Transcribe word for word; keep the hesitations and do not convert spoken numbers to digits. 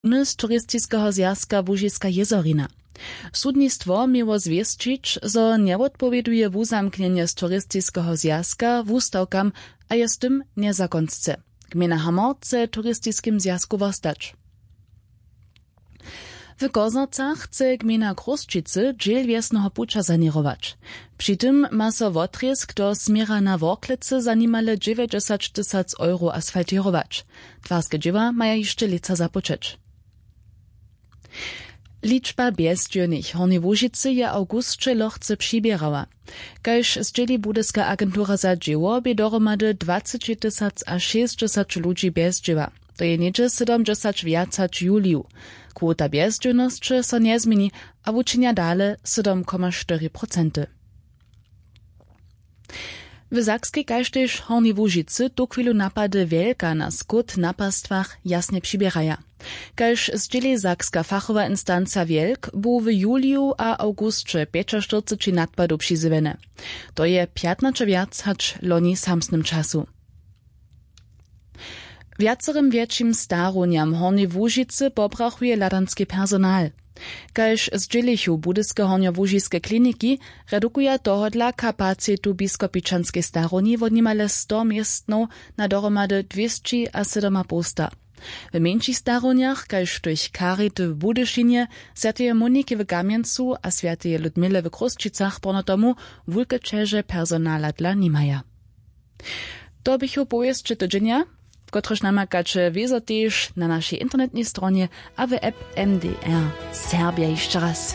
Nuny z turistiskeho zwjazka łužiska jězorina. Sudnistwo měło zwěsćić, zo njewotpowěduje wuzamknjenje z turistiskeho zwjazka wustawkam a je z tym njezakonsce. Gmejna hamor chce w turistiskim zwjazku wostać. W Koznacach chce gmejna Chrósćicy dźěl wjesneho puća saněrować. Při tym ma so wotrězk do směra na worklecy za nimale dźewjećdźesać tysac euro asfaltěrować. Twarske dźěła maja hišće lětsa započeć. Ličba bjezdźěłnych w hornjej łužicy je w awgusće lochce přiběrała. Kaž zdźěli budyska agentura za dźěło, bě dohromady dwaceći tysac a šěsćdźesać ludźi bjezdźěła. To je něhdźe sydomdźesać wjac hač w juliju. Kwota bjezdźěłnosće so njezměni a wučinja dale sydom koma štyri procenty. W sakskej kaž tež hornjej łužicy tuchwilu napady wjelka na skót na pastwach jasnje přiběraja. Kaž zdźěli sakska fachowa instanca wjelk, bu w juliju a awgusće pjećaštyrceći nadpadow přizjewjene. To je pjatnaće wjac hač loni w samsnym času. Wjacerym wjetšim starownjam w hornjej łužicy pobrachuje hladanski personal. Kaž zdźělichu budyske hornjołužiske kliniki, redukuja tohodla kapacitu w biskopičanskej starownji wot nimale sto městnow na dohromady dwěsći a sydomapołsta. W mjeńšich starownjach kaž w tych charity w budyšinje, swjateje moniki w kamjencu a swjateje ludmile w chrósćicach porno tomu wulke ćeže personala dla nimaja. To běchu powěsće tydźenja, kotrež namakaće wězo tež na našej internetnej stronje a w app. M D R serbja hišće raz.